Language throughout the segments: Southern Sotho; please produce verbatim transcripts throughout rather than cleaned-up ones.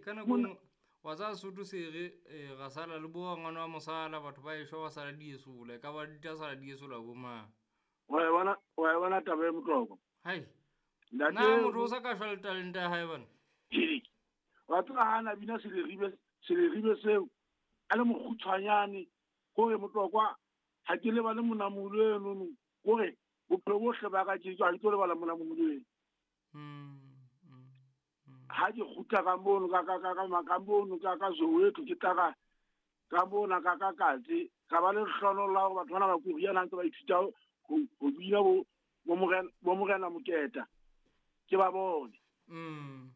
Ka nako e nngwe wa tsaya Sesotho se re eh, ra sala le bo ngwana wa mosala batho ba ešwa ba sala di esola e ka ba di tla sala di esola bo mang. Wa e bona wa e bona taba e Motlokwa. Hai. Ntate Na motho o sa ka shwa le talente ya hae bana. Ke wa tseba ha na bina seleribe seleribe seo a le mokgutshwanyane kore Motlokwa ha ke lebale monamolo enono kore bophelo bohle ba ka ke ha ke tlo lebala monamolo eno. Mm. Mm. Mm. Ha ke kgutla ka mono ka ka ka ka ka mono ka ka Soweto ke tla ka ka mona ka ka katse ka ba le lehlohonolo la hore batho bana ba koriana ntse ba ithuta ho ho bina bo bo morena bo morena Moketa ke ba bone. Mm.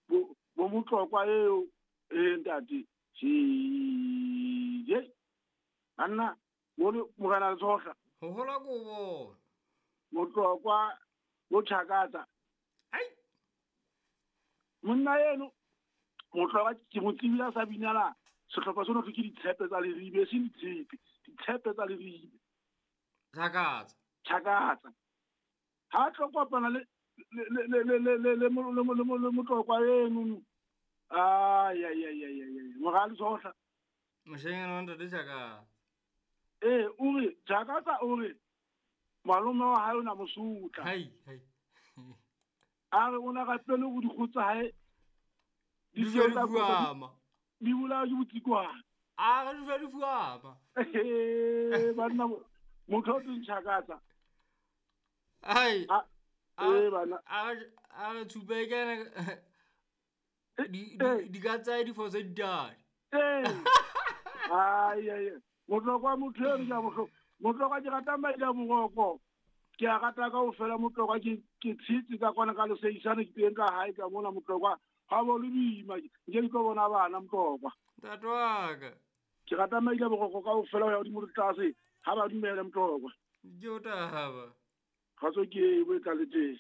Bo bo Motlokwa eo e ntate je banna bo morena Letsohla Ho hola kobo. Motlokwa bo Tjhakatsa. Ai. Monna eno Motlokwa ke mo tsebile a sa binela sehlopha seno ke ditshepe tsa Leribe, se ditshepe, ditshepe tsa Leribe. Tjhakatsa. Tjhakatsa. Ha tlo kopana le le le le le le le mo- le mo- le mo- le Motlokwa eno. Ai ai ai ai ai morale Letsohla. Moshanyana wa ntate Tjhakatsa. Eh o re Tjhakatsa o re malome wa hae o na mo sotla. Hai hai. A re o na rapele ho dikgoho tsa hae Di di dula di tsa fuama. di bolawa ke botsikwane. A re di dula di fuama. Eh banna motho o teng Tjhakatsa. Ai. A A eh bana a re a re tshupe e kene di eh di di ka tsaya difo tse ditadi. eh ai ai Motlokwa motho eno ke a bohloko. Motlokwa ke rata maile boroko. Ke a rata kaofela Motlokwa ke ke tshitse ka kwana ka leseisane ke teng ka hae ka mona Motlokwa. Ha bo le boima nke ke tlo bona bana Motlokwa. Ntate wa ka. Ke rata maile boroko kaofela ho ya hodimo le tlase ha ba dumele Motlokwa. Ke o taba. Kgotso ke e bo e tlaletseng.